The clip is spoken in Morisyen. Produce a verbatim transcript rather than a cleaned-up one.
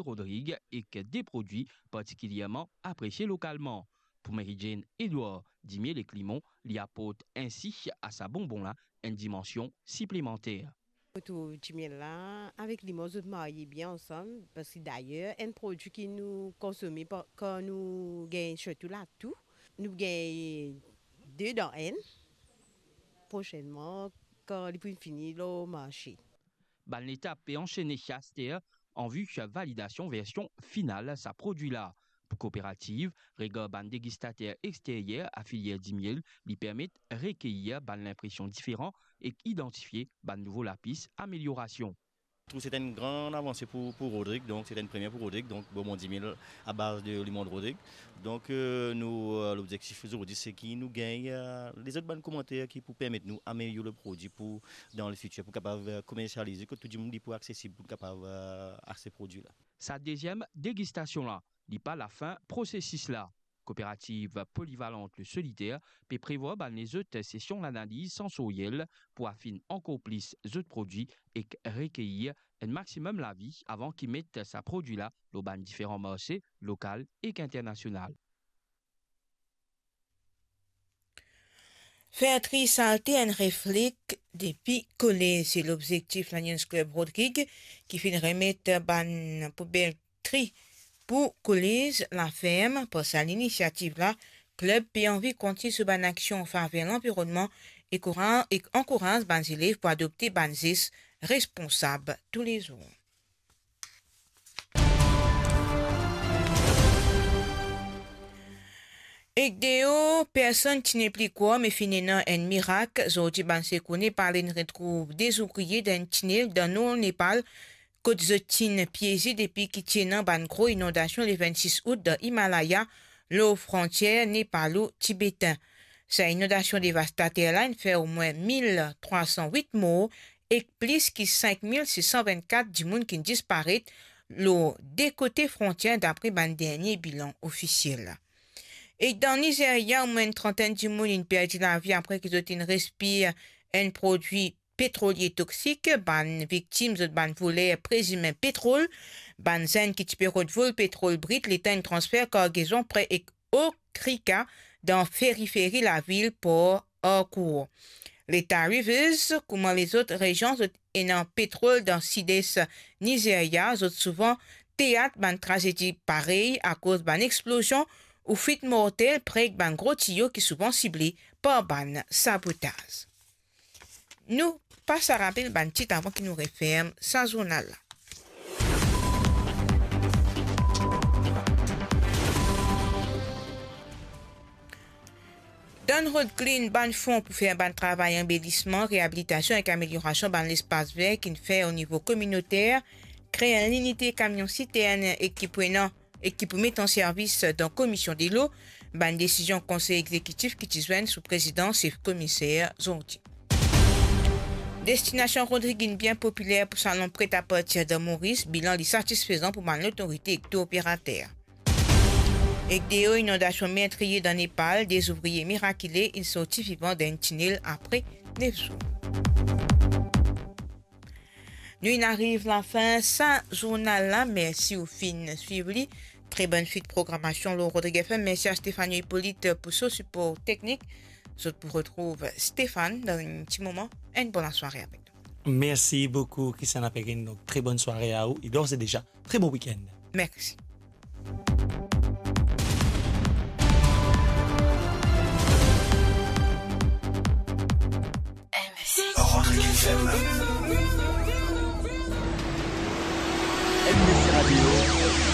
Rodrig ek de prodwi partikilierman apresie lokalman. Pou Mary Jane Edouard, dimiel ek limon, li aport ensi a sa bonbon la enn dimansion siplemanter. Mo trouv dimiel la avek limon, zot marye bien ansam, parski dayer enn prodwi ki nou konsome pa-, kan nou gagn sirtou latou, nou gagn de dan enn. Prosenman, kan li pou fini lor marse. Bann letap pe ansene aster an vi validasion version final sa prodwi la. Pou kooperativ, regar bann degistater exteryer a filier dimiel, li permet rekeir bann linpresion diferan ek idantifie bann nouvo lapis ameliorasion. Trouv se enn gran avanse pou, pou Rodrig, donk se enn premie pou Rodrig, donk bonbon dimiel a baz de limon Rodrig. Donk, euh, nou, euh, lobzektif zordi, se ki nou gagn, euh, lezot bann komanter ki pou permet nou amelior le prodwi pou, dan le fitir, pou kapav, euh, komersialize, kot tou dimoun li pou aksesib pou kapav, euh, aste prodwi la. Sa deziem degistasion la, li pa lafin prosesis la. Kooperativ Polivalente Le Solitaire pe prevwar bann lezot sesion lanaliz sansoryel pou afinn ankor plis zot prodwi ek rekeir enn maximum lavi avan ki met sa prodwi la lor bann diferan marse lokal ek internasional. Fer tri salte enn refleks depi kolez, se lobzektif Lions Club Rodrig ki finn remet bann poubel tri pou kolez Laferm. Par sa linisiativ la, klib pe anvi kontign so bann aksion an faver lanvironnman e koura-, e ankouraz bann zelev pou adopte bann zes responsab toulezour. Ek deor, personn ti nepli krwar, me finn ena enn mirak. Zordi bann sekour nepale inn retrouv de zouvrie dan enn tinel dan nor Nepal, kot zot ti'nn pieze depi ki ti ena bann gro inondasion le vennsis out dan Himalaya, lor frontier nepalo-tibetin. Sa inondasion devastater la inn fer omwin mil trwa san wit mor ek plis ki sink mil sis san vennkat dimoun ki'nn disparet lor de kote frontier, dapre bann dernie bilan ofisiel. Ek dan Nizeria, omwin enn trantenn dimoun inn perdi lavi apre ki zot inn respir enn prodwi petrolie toksik. Bann viktim, zot bann voler prezime petrol. Bann zenn ki ti pe rod vol petrol brit, letan inn transfer kargezon pre ek Okrika, dan periferi lavil Port Harcourt. Leta Rivers, kouma lezot rezion zot ena petrol dan sides Nizeria, zot souvan teat bann trazedi parey akoz bann explozion ou fwit mortel pre ek bann gro tiyo ki souvan sible par bann sabotaz. Nou pas rapel bann tit avan ki nou referm sa zournal la. Dan Rod Clean, bann fon pou fer bann travay anbelisman, reabilitasion ek ameliorasion bann lespas ver ki'nn fer o nivo kominoter, kre enn linite kamion sitern ek ki pou ena, ek ki pou met an servis dan Komisyon Delo. Bann desizion Konsey Egzekitif ki ti zwenn sou prezidans sef komiser zordi. Destinasion Rodrig inn bien popiler pou salon pret a partir dan Moris, bilan li satisfezan pou bann lotorite ek tour operater. Ek deor, inondasion metriye dan Nepal, de zouvrie mirakile inn sorti vivan dan enn tinel apre nef zour. Nou inn ariv lafin sa zournal la. Mersi ou finn swiv li. Tre bonn swit programasion lor Rodrig F M. Mersi a Stéphanie Hippolyte pou so sipor teknik. Zot pou retrouv Stéphane dan enn ti moman. Enn bon lasware avek nou. Merci beaucoup, Christiana Perrine. Donc, très bonne soirée à vous et d'ores et déjà, très bon week-end. Merci. Rodrig F M. M B C Radio.